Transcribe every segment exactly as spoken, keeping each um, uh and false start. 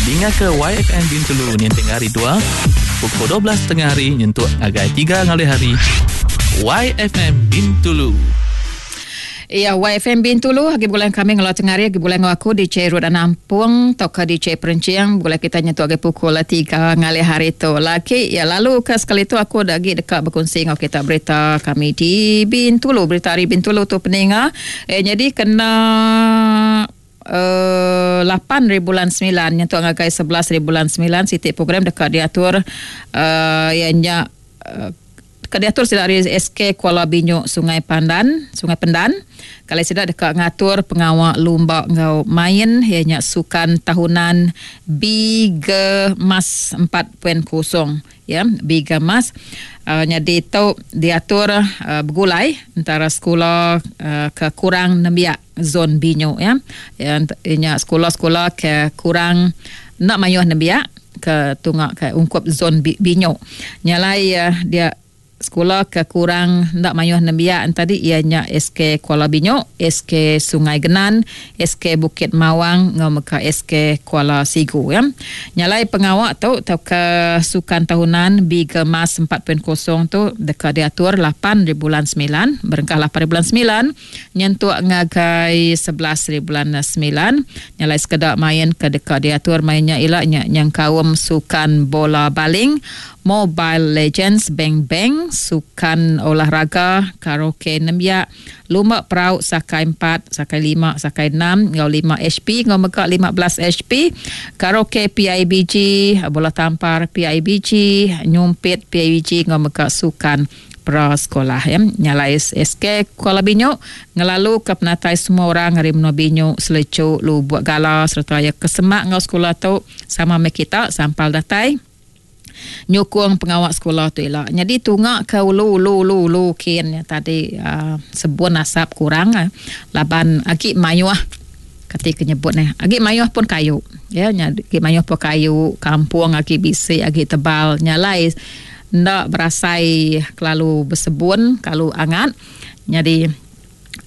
Dinga ke Y F M Bintulu ninting hari dua pukul dua belas tengah hari nyentuk ngagai tiga ngalih hari. Y F M Bintulu. Ya, Y F M Bintulu agi bulan kami ngelau tengah hari agi bulan aku di C Road Nampung atau ke di C Perencing bulan kita nyentuk agi pukul tiga ngalih hari tu. Lagi ya lalu ke sekali tu aku dah agi dekat berkongsi ngau kita berita kami di Bintulu, berita hari Bintulu tu peninga. Eh jadi kena Uh, lapan hari bulan sembilan nyentuk ngagai sebelas hari bulan sembilan sitik program dekat diatur uh, ianya uh, dekat diatur sida dari S K Kuala Binyuk Sungai Pandan, Sungai Pendan. Kali sida dekat ngatur pengawak lumba ngau main ianya sukan tahunan Bigemas empat titik kosong ya, Bigemas. Uh, jadi tu diatur uh, bergulai antara sekolah uh, ke kurang nembiak zon Binyuk ya. Ya ianya sekolah-sekolah ke kurang nak mayuh nembiak ke tungak ke ungkup zon Binyuk. Nyalai uh, dia sekolah ke kurang nak mayuh nembiak tadi ianya S K Kuala Binyuk, S K Sungai Genan, S K Bukit Mawang ngau meka S K Kuala Sigu ya. Nyalai pengawak tu tau ke sukan tahunan Bigemas empat titik kosong tu dekat diatur lapan hari bulan sembilan, berengkah lapan hari bulan sembilan nyentuk ngagai sebelas hari bulan sembilan. Nyalai sekedak main ke dekat diatur mainnya ilak nya nyang kaum sukan bola baling, Mobile Legends, Bang Bang, sukan olahraga, karaoke nembiak, lumba perahu sakai empat, sakai lima, sakai enam, ngau lima H P, ngau mega lima belas H P, karaoke P I B G, bola tampar P I B G, nyumpit P I B G, ngau mega sukan pra sekolah ya. Nyalai S K Kuala Binyuk ngelalu ke penatai semua orang hari menua Binyuk, Selecuk, Lubuk Gala serta ya kesemak ngau sekolah tu sama me kita sampal datai nyukung pengawak sekolah tu elak. Jadi tungak ke ulu ulu ulu ulu kin ya, tadi uh, sebun asap kurang uh, laban agi mayuh ketika nyebut ni. Agi mayuh pun kayu. Ya, agi mayuh pun kayu, kampung agi bisik, agi tebal, nyalai ndak berasai kelalu bersebun, kalau angat. Jadi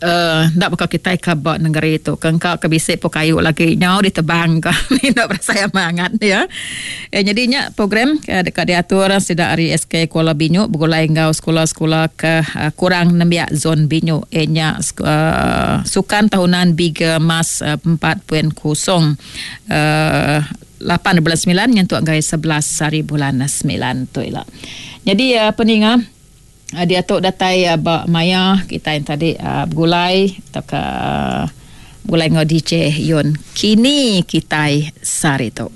Uh, ndak bakal kita ke bak negeri tu. Kengkak ke bisik pun kayu lagi nyau ditebang ke. Ndak berasa amangat ya. Eh, jadinya program eh, dekat diatur sida hari S K Kuala Binyuk bergulai ngau sekolah-sekolah ke uh, kurang nembiak zon Binyuk. Eh, nya uh, sukan tahunan Bigemas uh, empat titik kosong uh, lapan bulan sembilan nyentuk gai sebelas hari bulan sembilan tu elak. Jadi uh, peninga Uh, dia tu datai uh, bak maya kita yang tadi uh, bergulai atau ke uh, bergulai ngau D J Yun. Kini kita sari tu.